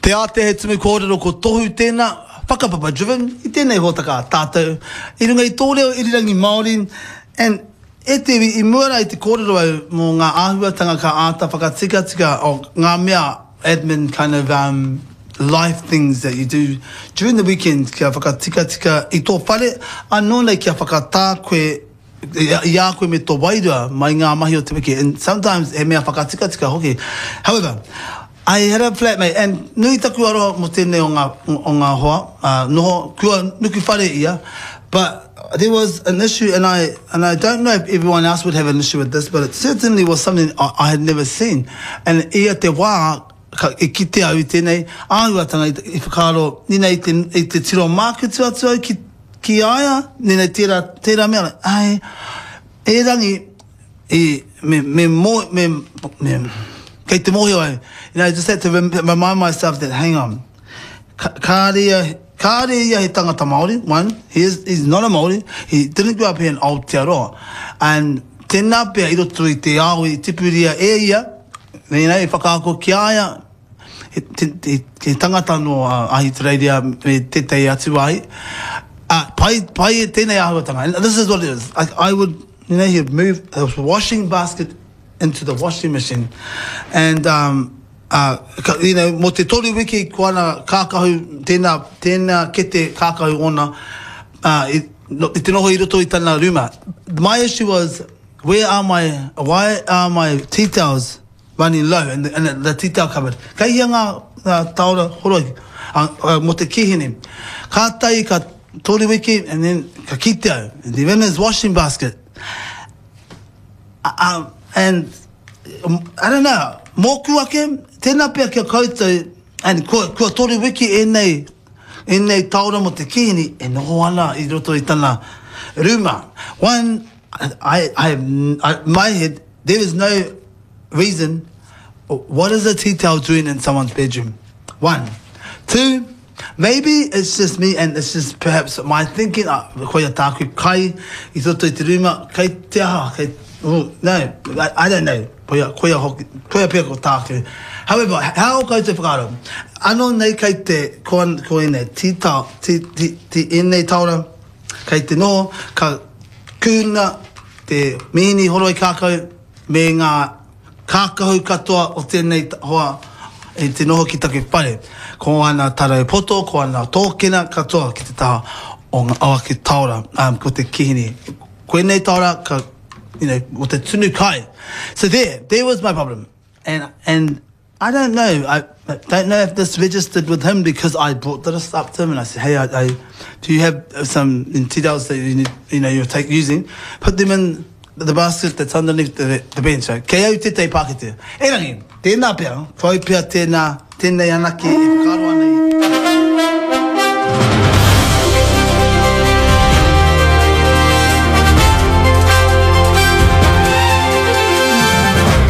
Te Ātea he tumu kōrero ko Tohu tēnā, whakapapa driven, i tēnei hōtaka a tātou, i runga i tō reo irirangi Māori, and e te iwi, i mua rā i te kōrero au mō ngā āhuatanga ka āta whakatikatika o ngā mea admin kind of um life things that you do during the weekend kia whakatikatika i tō whare, anō nei kia whakatā koe i a koe me tō wairua mai ngā mahi o te wiki and sometimes he mea whakatikatika hoki. However, I had a flatmate and nui taku aroha mō tēnei o ngā, o ngā hoa, uh, noho, kua nuku whare ia, but there was an issue and I, and I don't know if everyone else would have an issue with this, but it certainly was something I, I had never seen. And ia te wā, ka, i kite au i tēnei āhuatanga, i, i whakaaro, nina i te, i te tiro mākutu atu au ki, ki a ia, nina tērā, tērā mea, ai, erangi, i, me, me, mo, me, me, kei te mōhio au, you know, I just had to remind myself that, hang on, ka, kāre ia, kāre ia he tangata Māori, one, he is, he's not a Māori, he didn't grow up here in Aotearoa, and tēnā pea i roto i te ao i tipuria e ia, you know, i whakaako ki a ia, he, he, he tangata nō Ahitereiria me tētahi atu wāhi. Uh, pai, pai e tēnei āhuatanga. And this is what it is. I, I would, you know, he'd move the washing basket into the washing machine. And, um, uh, you know, mō te toru wiki ko ana kākahu, tēnā, tēnā kete kākahu ōna, uh, i, i te noho i roto i tana rūma. My issue was, where are my, why are my tea towels running low and the, and the tea towel cupboard. Kei hea ngā, ngā taora horoi uh, uh, mō te kīhini. Kātahi ka toru wiki and then ka kite au. And they're in his washing basket. Uh, um, and um, I don't know, mōku ake, tēnā pea kia koutou, and kua, kua toru wiki ēnei, ēnei taora mō te kīhini e noho ana i roto i tana rūma. One, I, I, I, my head, there is no reason, what is a tea towel doing in someone's bedroom? One. Two, maybe it's just me and it's just perhaps my thinking, uh, koia tāku kai i roto i te rūma, kei te aha, kei, oh, no, I, I don't know. Koia, koia hoki, koia pea ko tāku. However, how koutou whakaaro? Anō nei kei te, ko, ko ēnei tea towel, tea, tea, tea, ēnei taora, kei te noho, ka kūna te mihini horoi kākau, me ngā kākahu katoa o tēnei hoa i te noho ki taku whare. Ko ana tarau poto, ko ana tōkena katoa ki te taha o ngā o aku taora, um, ko te kihini. Koinei taora ka, you know, o te tunu kai. So there, there was my problem. And, and I don't know, I don't know if this registered with him because I brought this up to him and I said, hey, I, I, do you have some details that you, need, you know, you're take, using? Put them in the basket that's underneath the, the bench. So, kei au tētahi pākete. Erangi, tēnā pea, ko au pea tēnā, tēnei anake e whakaaro ana i...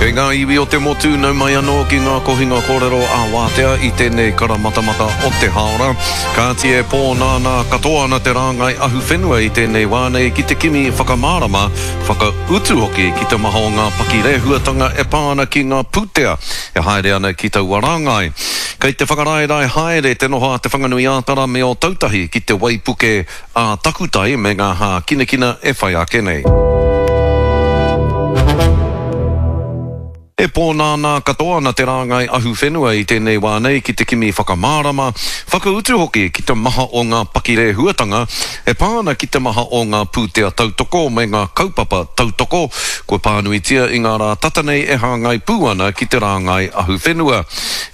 Kei ngā iwi o te motu, nau mai anō ki ngā kohinga kōrero ā-wātea i tēnei karamatamata o te hāora. Kāti e pōnānā katoa ana te rāngai ahuwhenua i tēnei wā nei ki te kimi whakamārama, whakautu hoki ki te maha o ngā pakirēhuatanga e pā ana ki ngā pūtea e haere ana ki taua rāngai. Kei te whakaraerae haere te noho a Te Whanganui-ā-Tara me Ōtautahi ki te waipuke ā-takutai me ngā hākinakina e whai ake nei. E pōnānā katoa ana te rāngai ahuwhenua i tēnei wā nei ki te kimi whakamārama, whakautu hoki ki te maha o ngā pakirēhuatanga e pā ana ki te maha o ngā pūtea tautoko me ngā kaupapa tautoko kua pānuitia i ngā rā tata nei e hāngai pū ana ki te rāngai ahuwhenua.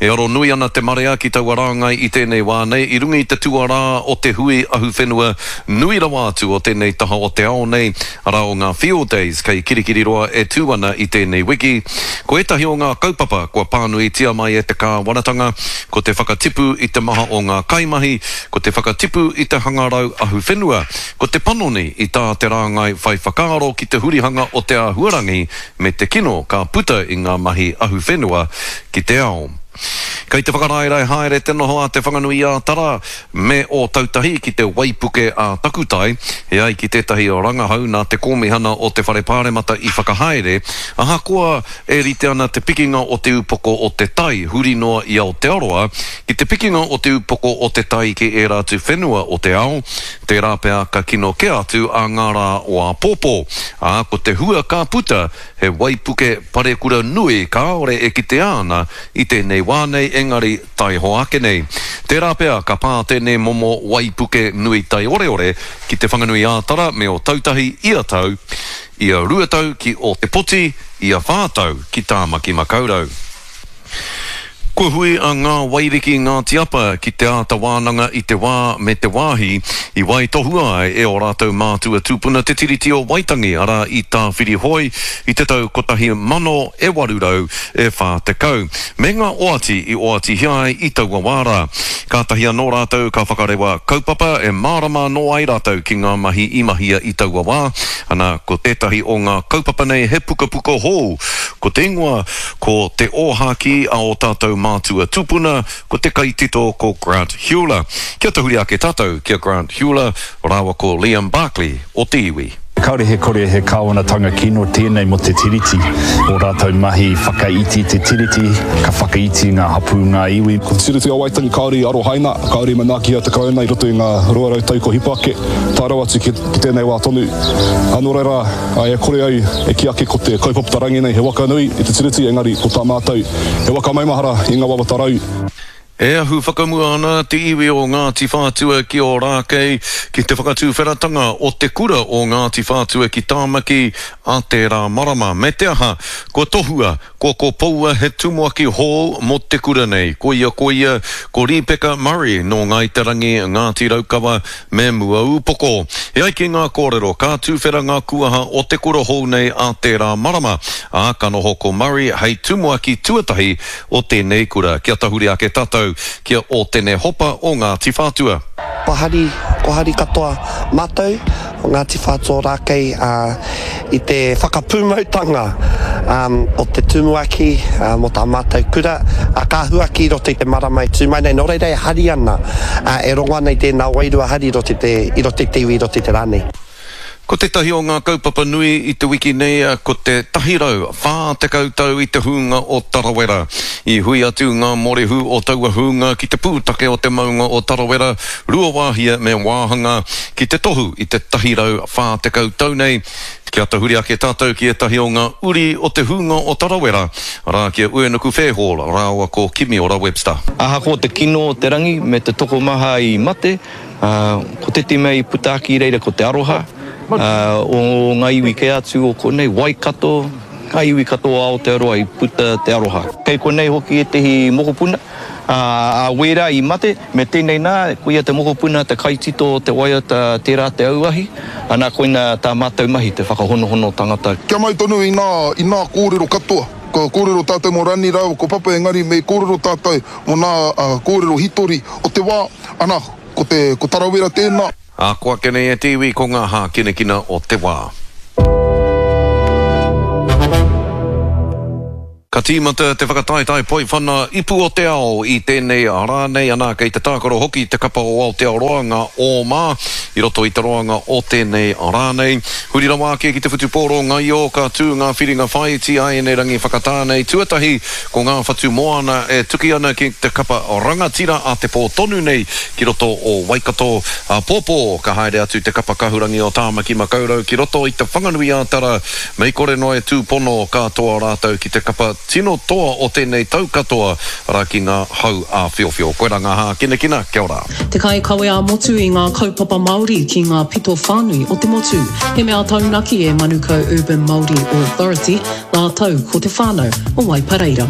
E aro nui ana te marea ki taua rāngai i tēnei wā nei i runga i te tuarā o te hui ahuwhenua nui rawa atu o tēnei taha o te ao nei, arā o ngā Field Days kei Kirikiriroa e tū ana i tēnei wiki. Ko ētahi o ngā kaupapa kua pānuitia mai e te kāwanatanga, ko te whakatipu i te maha o ngā kaimahi, ko te whakatipu i te hangarau ahuwhenua, ko te panoni i tā te rāngai whai whakaaro ki te hurihanga o te āhuarangi me te kino ka puta i ngā mahi ahuwhenua ki te ao. Kei te whakaraerae haere te noho a Te Whanganui-ā-Tara me Ōtautahi ki te waipuke ā-takutai, e ai ki tētahi rangahau nā te Kōmihana o te Whare Pāremata i whakahaere, ahakoa e rite ana te pikinga o te upoko o te tai huri noa i Aotearoa ki te pikinga o te upoko o te tai ki ērā atu whenua o te ao, tērā pea ka kino kē atu ā ngā rā o āpōpō, ā, ko te hua ka puta He waipuke parekura nui kāore e kitea ana i tēnei wā nei engari taihoa ake nei. Tērā pea ka pā tēnei momo waipuke nui taioreore ki Te Whanganui-ā-Tara me Ōtautahi ia tau, ia 2 tau ki Ōtepoti, ia whā tau ki Tāmaki-makau-rau. Kua hui a Ngā Wairiki Ngāti Apa ki te āta wānanga i te wā me te wāhi i waitohua ai e ō rātou mātua tūpuna te Tiriti o Waitangi, arā i Tāwhirihoe i te tau 1840, me ngā oati i oatihia ai i taua wā rā. Kātahi anō rātou ka whakarewa kaupapa e mārama anō ai rātou ki ngā mahi i mahia i taua wā, ana, ko tētahi o ngā kaupapa nei he pukapuka hou, ko te ingoa Ko te ōhākī a ō tātou mātua tūpuna, ko te kaitito ko Grant Heuler. Kia tahuri ake tātou ki a Grant Heuler rāua ko Liam Barclay o te iwi. Kāore he kore he kāwanatanga kino tēnei mō te Tiriti. Ō rātou mahi whakaiti i te Tiriti, ka whakaiti ngā hapū, ngā iwi. Ko te Tiriti o Waitangi kāore i arohaina, kāore i manaakihia te Karauna i roto i ngā 200 tau kua hipa ake, tae rawa atu ki tēnei wā tonu. Nō reira, E kore au e kī ake ko te kaupapa tarangi nei he waka nui i te Tiriti, engari ko tā mātou he waka maumahara i ngā wawata rau. E ahu whakamua ana te iwi o Ngāti Whātua ki Ōrākei ki te whakatuwheratanga o te kura o Ngāti Whātua ki Tāmaki a tērā marama. Me te aha, kua tohua, kua kopoua he tumuaki hou mō te kura nei. Koia koia, ko Rīpeka Murray nō Ngāi Te Rangi, Ngāti Raukawa, Me Muaūpoko. E ai ki ngā kōrero, ka tuwhera ngā kuaha o te kura hou nei ā tērā marama, ā, ka noho ko Murray hei tumuaki tuatahi o tēnei kura. Kia tahuri ake tātou ki a Ōtene Hopa o Ngāti Whātua. Kua hari, kua hari katoa mātou o Ngāti Whātua Ōrākei i te whakapūmautanga o te tumuaki mō tā mātou kura, ka huaki i roto i te marama e tū mai nei. Nō reira e hari ana, e rongo ana i tēnā wairua hari i roto i te, i roto i te iwi, i roto i te rā nei. Ko tētahi o ngā kaupapa nui i te wiki nei ko te 140 tau i te hūnga o Tarawera. I hui atu ngā morehu o taua hūnga ki te pūtake o te maunga o Tarawera, Ruawāhia me Wāhanga ki te tohu i te 140 tau nei. Kia tahuri ake tātou ki ētahi o ngā uri o te hūnga o Tarawera, arā ki a Uenuku Fairhall rāua ko Kimiora Webster. Ahakoa te kino o te rangi me te tokomaha i mate, ko tētehi mea i puta ake i reira ko te aroha o ngā iwi kē atu o konei, Waikato, ngā iwi katoa o Aotearoa i puta te aroha. Kei konei hoki ētehi mokopuna, a wērā i mate, Me tēnei nā, koia te mokopuna, te kaitito o te waiata Tērā te auahi, ana koina tā mātou mahi, te whakahonohono tangata. Kia mau tonu i ngā, i ngā kōrero katoa. Kua kōrero tātou mō Rani rāua ko Papa engari me kōrero tātou mō ngā kōrero hitori o te wā, ana, ko te, ko Tarawera tēnā. Ā, ko ake nei e te iwi ko ngā hākinakina o te wā. Ka tīmata te whakataetae poiwhana ipu o te ao i tēnei rā nei, anā kei te tākaro hoki te kapa o Aotearoa, ngā Ōma, i roto i te roanga o tēnei rā nei. Huri rawa ake ki te whutupōro ngaio, ka tū ngā whiringa whāiti āianei rangi whakatā nei. Tuatahi, ko ngā whatu moana e tuki ana ki te kapa rangatira a te pō tonu nei ki roto o Waikato. Āpōpō, ka haere atu te kapa kahurangi o Tāmaki Makaurau ki roto i Te Whanganui-ā-Tara Mei kore noa e tūpono, ka toa rātou ki te kapa tino toa o tēnei tau katoa, arā ki ngā hau āwhiowhio. Koirā ngā hākinakina, kia ora. Te kaikawe ā-motu i ngā kaupapa Māori ki ngā pito whānui o te motu. He mea taunaki e Manukau Urban Māori Authority rātou ko te whānau o Waipareira.